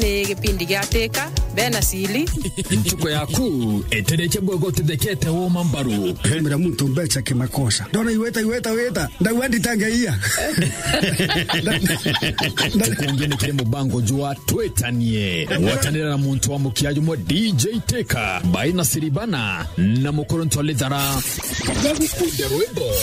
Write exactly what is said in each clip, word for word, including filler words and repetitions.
Ni gipindi gia Teka, bena sili. Ntuko yaku, etereche bwego tithekete woma mbaru. Mira muntu mbecha kimakosa. Ndona iweta, iweta, weta. Ndauga nditangeia. Tukungi ni kiri mubango jwa Twetanie. Gwatanira na muntu wa mukia jumwe D J Teka, Baina Siribana, na Mukuru Ntolithara. Bagukunde rwimbo.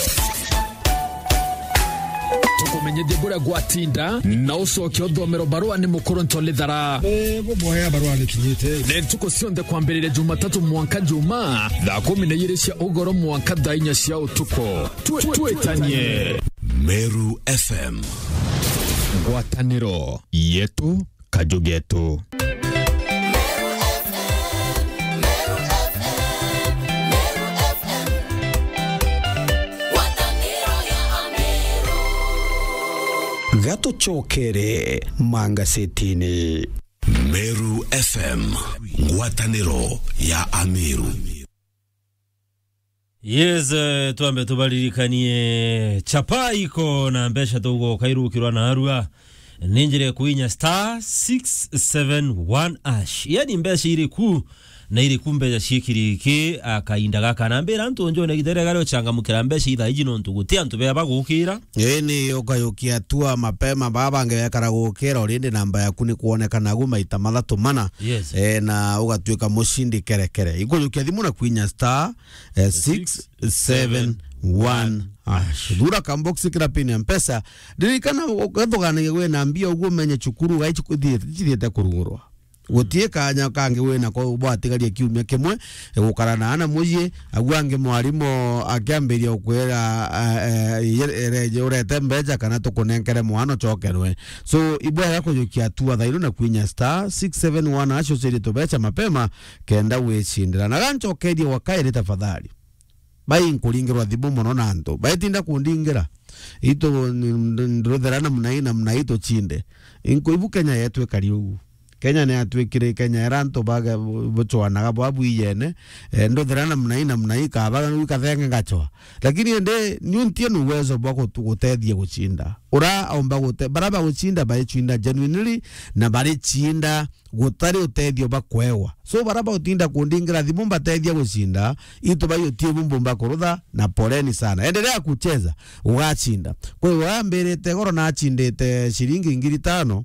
Tukumenyithie buria gwatinda, na ucoke uthomero barua ni Mukuru Ntolithara. Eh, buboya barua ni kinyite. Ni ntuku cionthe kwambiriria Jumatatu mwanka Juma, thaa kumi na ijiri cia ugoro mwanka thaa inya cia utuku. Twe-, twetanie. Meru F M. Ngwataniro yetu, kaju getu. Gatucokere mangasetini. Meru F M, ngwataniro ya Ameru. Yes, eh, twambe tubaririkanie chapa iko na mbeca tugoka irukirwa narua. Ni njira ya kuinya star six seven one hash. Yani mbeca iriku na iriku mbeca ciikiriki akainda gaka. Na mbira antu njone gitere gari ochangamukira mbeca ithaa iji nontu guti antu bea bagukira. Ii ni ukayukia tua mapema, baba bangi bekara gukira, already namba yaku ni kwoneka nagu maita mathatu mana. Yes. Eh, na ugatuika mucindi kerekere. Ikuyukia thimu na kwinya star, eh, six seven one hash. Thura kambox kira pin ya Mpesa. Ririkana, ugathuganagia wina mbia uguo umenye cukuru gai cithiite kurugurwa. Guti kanya kangi wina ko bwatigaria kiumia kimwe, eh, gukara na ana mucii, agu angi mwarimu akiambiria gukwira, eh, eh, ye-, ereje urete mbeca kana tukunenkere mwana ucokerwe. So, ibwega kujukia hatua thairu na kwinya star six seven one hash ucirie tubeca mapema kenda wicindira. Na gancokerie wa kairi tafadhali. Bai nkuringirwa thimu mono na antu. Baitinda kundingira. Itu ni-, ni-, nduthera namna hii, namna hii tucinde. Inkuibu Kenya yetu ikari ugu. Kenya ni yatuikire Kenya era antu baga bu-, bucwanaga bwa bwijene. Eh, nduthera namna hii, namna hii, kabaga nu kathenge ngacwa. Lakini ende, niuntie ni uwezo bwa gutu-, gutethia gucinda. Ura omba gute-, bara bagucinda, baricinda genuinely, na baricinda gutari utethio bakwewa. So, bara bautinda kundingira thimu mbatethia gucinda, itu bai utie bumbu mbakurutha, na poleni sana. Endelea kucheza, ugacinda. Kwa hiyo, ambirite goro nacindite ciringi ngiri tano,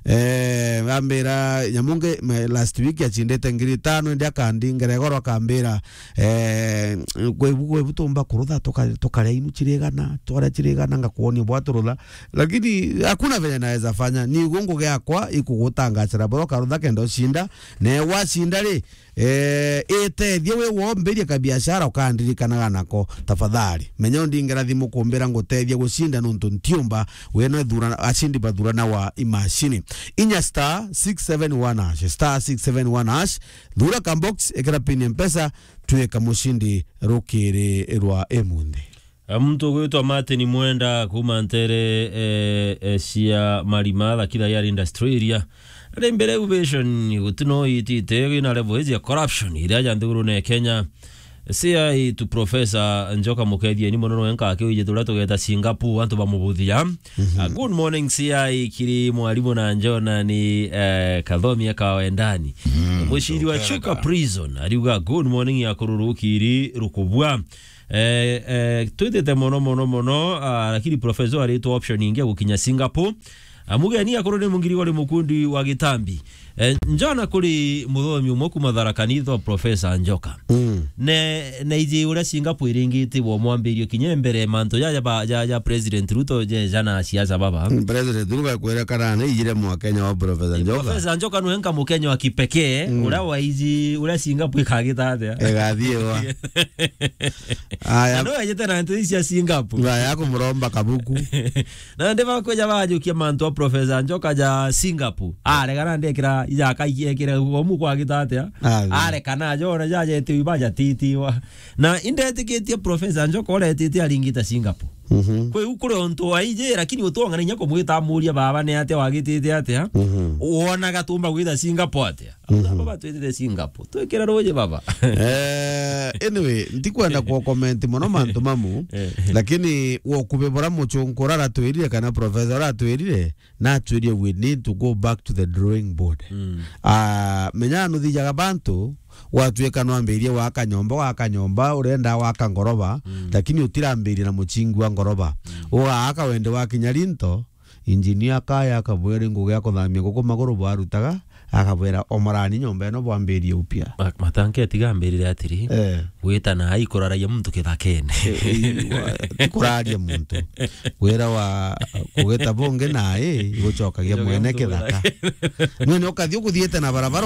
eh, ambira nyamunge, me-, last week acindite ngiri tano, indi akandingira goro akambira, eh, kwebu, kwebu tumba kurutha, tuka-, tukaria inu cirigana, twaria cirigana, ngakuonia bwa turutha. Lakini hakuna venye naweza fanya. Ni gungu giakwa ikugutangacira boro karutha kenda ucinda. Ne wacinda ri, eh, itethie wi wombirie kabiashara ukandirikanaga nako. Tafadhali. Menya undingira thimu kumbira ngutethie gucinda nuntu ntiumba. Weno thura, acindi bathurana wa imashini. Inya star six seven one hash. Star six seven one hash. Thura kambox, ikira pin ya Mpesa, twika mucindi rukiri rwa imunthi. A, muntu ugwitwa Martin Mwenda kuma ntere, eh, eh, cia Marima, Thakira Yard Industrial Area. Ari mbere ovation, guti no itite, wina level iji ya corruption, iria ja nthigurune ya Kenya. C I to Professor Njoka Mukethia, ni mono wenka akiwije turia tugeta Singapore, antu bamubuthia. Mhm. A, good morning, C I, kiri mwarimu na Njona ni, eh, Kathomi aka Wendani. Mhm. Muciri wa Chuka Prison, ariuga, "Good morning, ya kururu kiri rukubua." Eh, eh, twitite mono, mono, mono, ah, lakini professor aritwa option ingi ya gukinya Singapore. Ah, mugeni akuru ni Mungiri wari mukundi wa gitambi. Eh, njona kuri muthomi umwe kuma Tharaka Nithi wa Professor Njoka. Mm. Ne, ne iji uria Singapore iringitibwo mwambirio kinya mbere mantu ja, ja, ba, ja, ja President Ruto je, jana siasa baba. Mm, President Ruto akwira kana ni ijire mwa Kenya wa Professor Njoka. Professor Njoka nwe nka Mukenya wa kipekee, mm, uria waiji, uria Singapore ikagita atia? Igathiiwa. Aya. Na no ejete na ntu ici cia Singapore. Aya, akumuromba kabuku. Na ndi bakweja bajukia mantu a Professor Njoka ja Singapore. Aregana ndekira ijaka ikiekire umu kwa gita atia? Athi. Arekana jona jajete ibaja titiwa. Na indetikitie Professor Njoka uretite aringita Singapore. Mhm. Kwi u kuri untu waiji, lakini utong'ana inya kumwita amuria, "Baba, ni atia wagitite atia?" Mhm. Wonaga tumba gwita Singapore atia? Mhm. Baba, twitite Singapore. Twikira ruji, baba. Eh, anyway, ntikwenda ku comment mono mantu mamu, Eh. lakini wokubi bura muchunku ura aratwirire kana professor ura aratwirire, natwirire we need to go back to the drawing board. Mm. Ah, menya nuthijaga bantu, gwatuika nwambirie waka nyomba, waka nyomba, urenda waka ngoroba, Mm. lakini utirambirie na muchingi wa ngoroba. Mm. Ugaaka wende wakinya rinto, injinia akaya akabwira ngugi ya kuthamia guku maguru bwarutaga, akabwira, "Omorani nyomba ino bwambirie upya." Ma-, matanki atiga ambirire atiri, Eh. gwita na ai kuraragia muntu kithakene. Eh, eh, wa-, ti kuraria muntu. Wira wa kugita bungi na ai gucokagia Gucokia mwene muntu kithaka. Kithaka. Nwe ni ukathi ukuthiite na barabara